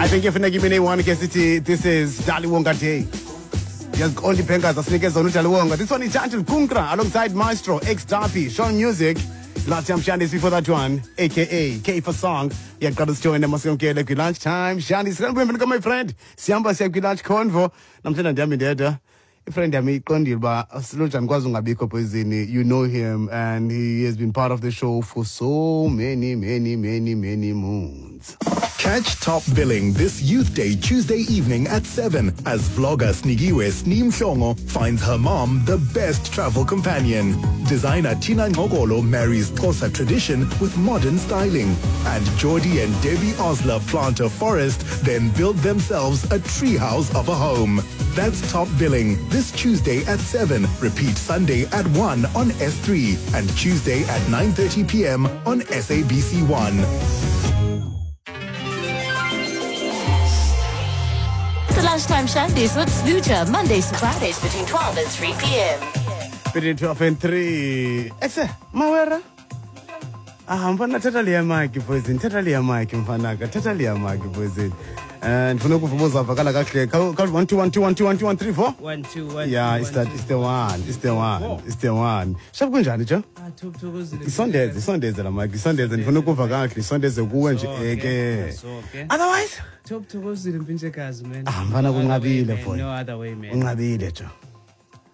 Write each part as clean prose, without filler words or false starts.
I think ifuneka ibe neyi-one ke sithi this is Daliwonga Day. Ndiyaziqonda iibhenkers asinike zona uDaliwonga. This one is Chantal Kunkra alongside Maestro, X Dapi, Sean Music. Last time Shandis before that one, aka K for Song. Iyaqala sijoyine masiyamkele kwi-lunch time. Shandis, sanibona my friend. Sihamba siya kwi-lunch convo. Namhlanje ndihamba ndedwa. Ifriend yami iqondile uba silojani kwazi ungabikho poison. You know him and he has been part of the show for so many, many, many, many moons. Catch Top Billing this Youth Day, Tuesday evening at 7 as vlogger Snigiwe Sneem Shongo finds her mom the best travel companion. Designer Tina Ngogolo marries Xhosa tradition with modern styling. And Jordi and Debbie Osler plant a forest, then build themselves a treehouse of a home. That's Top Billing this Tuesday at 7. Repeat Sunday at 1 on S3 and Tuesday at 9:30 p.m. on SABC1. The Lunchtime Shandies with Snooja, Mondays to Fridays between 12 and 3 p.m. Between 12 and 3. Ese, mawera. Ah, mfana thatha leya mic poison, thatha leya mic mfanaka, thatha leya mic poison. And ndifuna ukuva uzavakala kakuhle. Khawuthi 1 2 1 2 1 2 1 2 1 3 4. 1 2 1 Yeah, 2, it's 1, that 2. it's the one, it's the one, it's the one. Shap kunjani jo? Ah, thokozile. Isondeze, isondeze la mic, isondeze ndifuna ukuva kakuhle, isondeze kuwe nje Okay, eke. okay. Otherwise, Top thokozile mpintshekazi man. Ah, mfana No other way, kunqabile, man. boy. No other way man. unqabile jo.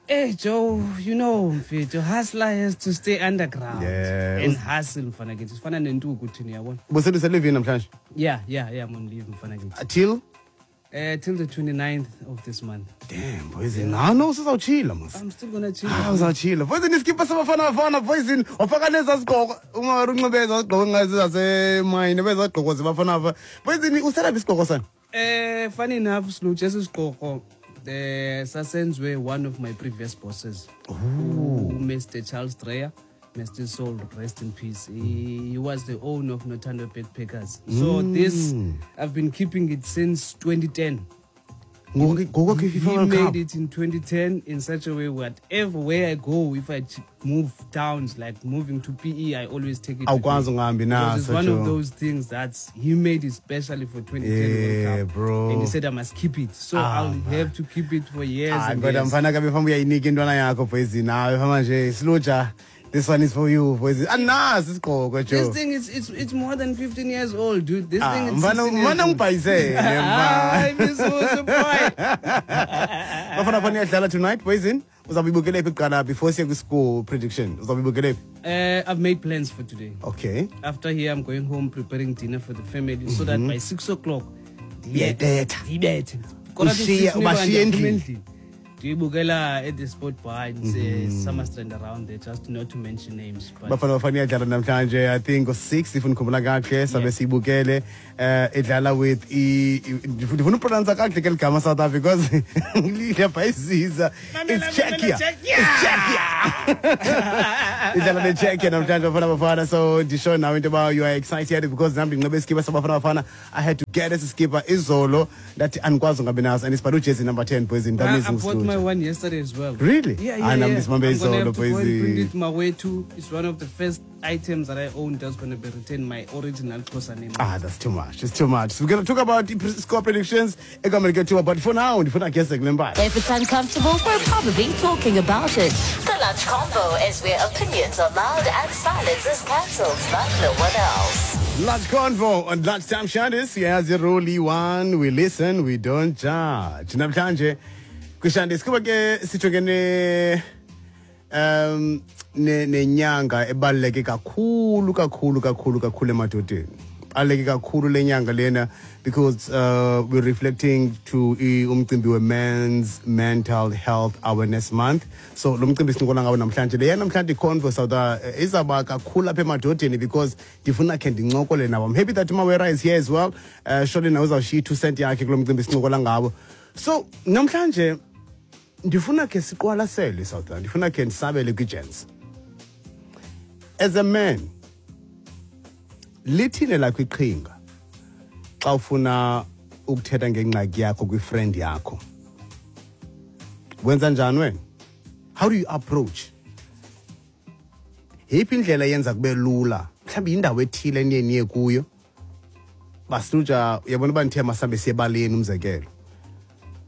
Hey Joe, you know mfethu, hustler has to stay underground. Yeah. And hustle mfana kithi. Sifana nentuku thina yabona. Busele livini namhlanje. Yeah, I'm on leave mfana kithi. Till Till the 29th of this month. Damn, poison. Ah, no, usizawutshila mos. I'm still gonna chill. Ah, uzawutshila. Poison iskipa sabafana bafana poison. Wafaka nezaa sigqoko. Uma unxibe ezaa sigqoko ngazi zasemayini bezaa gqoko zebafana bafana. Poison uselaphi isigqoko sana? Funny enough, Sluch, esisigqoko sasenzwe one of my previous bosses. Oh. Mr. Charles Dreyer. Mr. Soul, rest in peace. He was the owner of Notando Backpackers. So this, I've been keeping it since 2010. Ngoku ngoku He kwi-FIFA World Cup. made it in 2010 in such a way whatever where I go, if I move towns, like moving to PE, I always take it with Awukwazi me. ungahambi Because it's naso, one Joe. of those things that he made it specially for 2010 Yeah, World Cup. bro. And he said I must keep it. So Ah, I'll man. have to keep it for years Hayi and kodwa years. mfana kabe famba uyayinika intwana yakho poison. Hayi famba nje siluja. This one is for you poison. Anazi isigqoko This Joe. thing is it's more than 15 years old, dude. This Ah, thing is mfana 16 years mfana old. ungibhayisele mfana. Hayi, Mizuzu, boy. Bafana bafana iyadlala tonight poison. Uzawube ibukele phi kuqala before siye kwi-score prediction? Uzawube ibukele phi? I've made plans for today. Okay. After here, I'm going home preparing dinner for the family so that by 6 o'clock, Uyayibetha. ndiyibethe. Ushiye- ubashiye endlini. Ndiyibukela at the sport bar in Summerstrand around there, just not to mention names. But Bafana bafana iyadlala namhlanje I think ngo-6 if ndikhumbula kakuhle sabe siyibukele idlala with ndifuna upronounce kakuhle ke ligama South Africa because liyabhayisiza. It's Czechia. It's Czechia. Idlala neCzechia namhlanje Bafana Bafana, so ndisho nawe into yoba you are excited because nam ndinxibe iskipa sabafana bafana. I had to get esi skipa izolo ndathi andikwazi ungabi naso and isibhale ujezi number 10 poison. That I means bought my one yesterday as well. Really? Yeah, Ah, nam yeah. ndisibambe I'm gonna izolo, have to go and boys. print it my way too. It's one of the first items that I own that's going to be written my original Xhosa name. Ah, that's too much. It's too much. We're going to talk about the score predictions. But for now, ndifuna gese kule mpahla. If it's uncomfortable, we're probably talking about it. The Lunch Convo is where opinions are loud and silence is cancelled like no one else. Lunch Convo on Lunchtime Shandis. Siyazi rule one. We listen, we don't judge. Namhlanje kwiShandis kuba ke sijongene nenyanga ebaluleke kakhulu kakhulu kakhulu kakhulu emadodeni. Baluleke kakhulu le nyanga lena because we're reflecting to umcimbi we-Men's Mental Health Awareness Month. So lo mcimbi sincokola ngawo namhlanje. Leya namhlanje iconvo South izawuba kakhulu apha emadodeni because ndifuna khe ndincokole nawo. I'm happy that Mawera is here as well. Surely nawe uzawushiya i-2 cent yakhe kulo mcimbi sincokola ngawo. So namhlanje ndifuna khe siqwalasele South, ndifuna khe ndisabele kwi-gents. As a man, lithini lakho iqhinga xa ufuna ukuthetha ngengxaki yakho kwi-friend yakho? Wenza njani wena? How do you approach? Yeyiphi indlela eyenza kube lula? Mhlawumbi yindawo ethile eniye niye kuyo. Basluja, uyabona uba ndithe masambe siye ebaleni, umzekelo,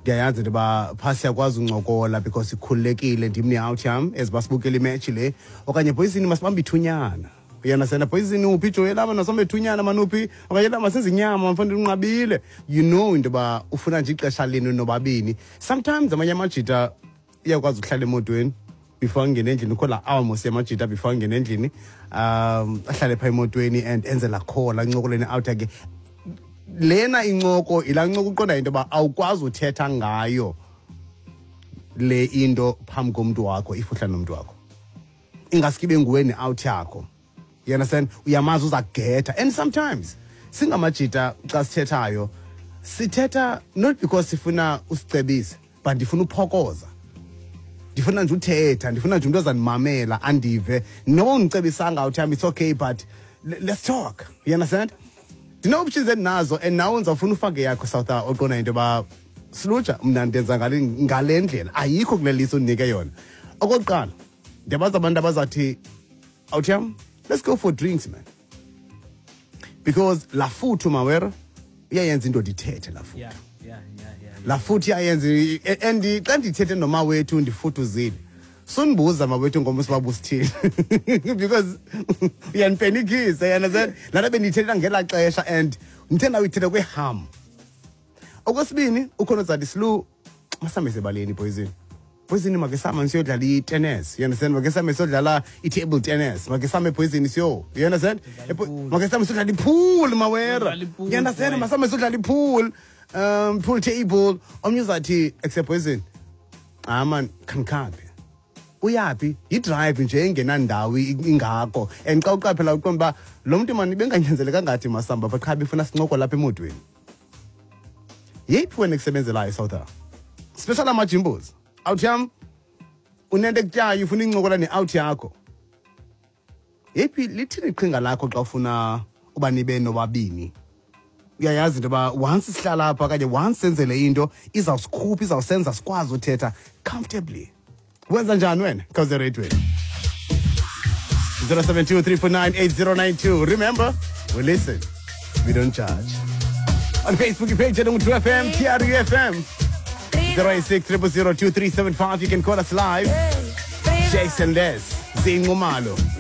ndiyayazi into yoba phaa siyakwazi uncokola because ikhululekile, ndim ne-out yam as basibukela imetshi le, okanye boyizini masibambe ithunyana, uyandasenda, boyizini uphi ijoyi lama nasambe ithunyana manuphi, okanye la masenze inyama mfana unqabile. You know into yoba ufuna nje ixesha lenu nobabini. Sometimes amanye amajita iyakwazi ukuhlala emotweni before angene endlini, ukho laa hour mos yamajita before angene endlini, ahlale phaa emotweni and enze laa call, ancokole ne-out yakhe. Lena incoko yilaa ncoko uqonda into yoba awukwazi uthetha ngayo le into phambi komntu wakho. If uhlala nomntu wakho, ingaske ibe nguwe ne-out yakho, you understand, uyamazi uza kugetha. And sometimes singamajita xa sithethayo, sithetha not because sifuna usicebise, but ndifuna uphokoza, ndifuna nje uthetha, ndifuna nje umntu ozandimamela andive. Noba undicebisanga uthi it's okay, but let's talk, you understand. Ndine-options endinazo and nawe ndizawufuna ufake yakho, South, oqonda into yoba silutsha mna ndenza ngale ndlela, ayikho kule list undinike yona. Okokuqala, ndiyabazi abantu abazawuthi, awuthiyam, let's go for drinks, man, because laa futhu mawera iyayenza indoda ithethe laa futhu. Laa futhi iyayenza, and xa ndithethe nomawethu ndifuduzile, sundibuza mawethu ngomso uba busithini because uyandipenikisa, you understand. Laa nto bendiyithetha ngelaa xesha and ndithe ndawuyithetha kweham. Okwesibini, ukhona uzathi, Silu, masambe sebaleni, poison poison, make sihamba siyodlala i-tennis, you understand, make sihambe siyodlala i-table tennis, make sihambe poison siyo, you understand, make sihambe siyodlala i-pool mawera. Siyodlala i-pool, you understand, boy. Masihambe siyodlala i-pool, pool table. Omnye uzathi except poison, ah man, khandikhaphe, uyaphi, yi-drive nje engenandawo ingako. And xa uqaphela uqonda uba lo mntu mani benganyanzeleka ngathi masamba apha, qha befuna sincoko lapha emotweni. Yeyiphi wena ekusebenzelayo, South, special amajimbos? Out yam unento ekutyayo, ufuna incokola ne-out yakho, yeyiphi, lithini iqhinga lakho xa ufuna uba nibe nobabini? Uyayazi into yoba once sihlala apha okanye once senzele into izawusikhupha, izawusenza sikwazi uthetha comfortably, wenza njani wena? Khawuze ereyidweni, 072 349 8092. Remember, we listen, we don't judge. On Facebook page at 2 FM, TRU FM, 086 000 2375. You can call us live. Jason Les, Zinqumalo.